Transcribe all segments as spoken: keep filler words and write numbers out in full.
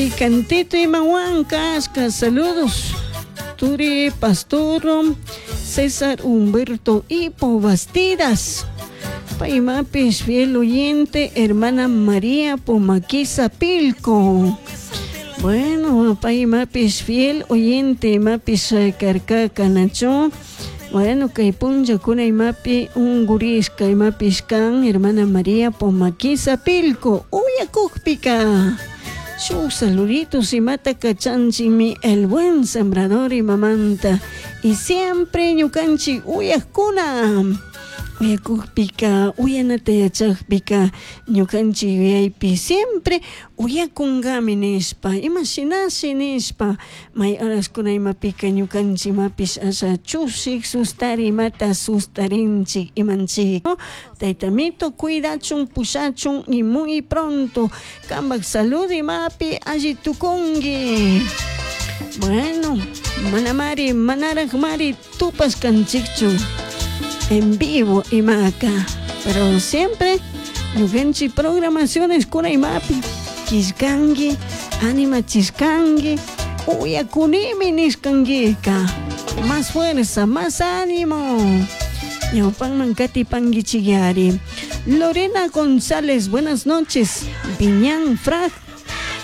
Kay cantito imawan kashka saludos turi pastor César Humberto Ipo Bastidas paymapish fiel oyente hermana María Pomaquiza Pilco. Bueno, paymapish fiel oyente imapish karkaka nachu. Bueno, kay punllakuna imapi unkurishka imapish kan hermana María Pomaquiza Pilco uyakukpika shuk saluditos imata kachanchikmi el buen sembrador imamanta y siempre ñukanchik uyakuna uyakukpika uyanata yachakpika ñukanchik yuyaypi siempre uyakunkami nishpa imashinashi nishpa may horaskuna imapika ñukanchik imapish asha chushik sustari imata sustarinchik imanchik taytamito cuidachun pushachun y muy pronto kampak salud imapi alli tukunki. Bueno, manamari manarakmari tupashkanchikchu en vivo imaka pero siempre ñukanchik programaciones kuna imapi killkanki animachishkanki uyakunimi nishkankika más fuerza, más ánimo. Ñawpanman katipankichikyari. Lorena González, buenas noches. Viñán Frag.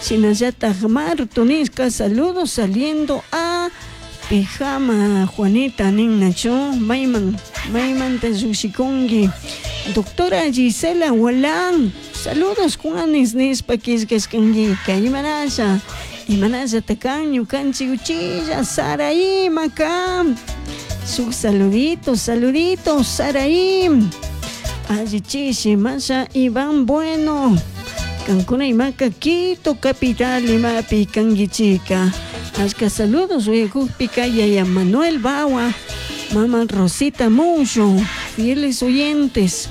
Shinallatak Marto nishka saludos saliendo a Pijama Juanita ninnachu mayman maymanta llukshikunki. Doctora Gisela Walán, saludos Juanes nishpa killkashkankika imanasha imanashata kan ñukanchik uchilla Saraí maka shuk saludito saludito Saraí allichishi masha Iván Bueno kankuna imaka Quito capital imapi kankichika ashka saludos uyakukpika yaya Manuel Bawa mama Rosita Mullo fieles oyentes.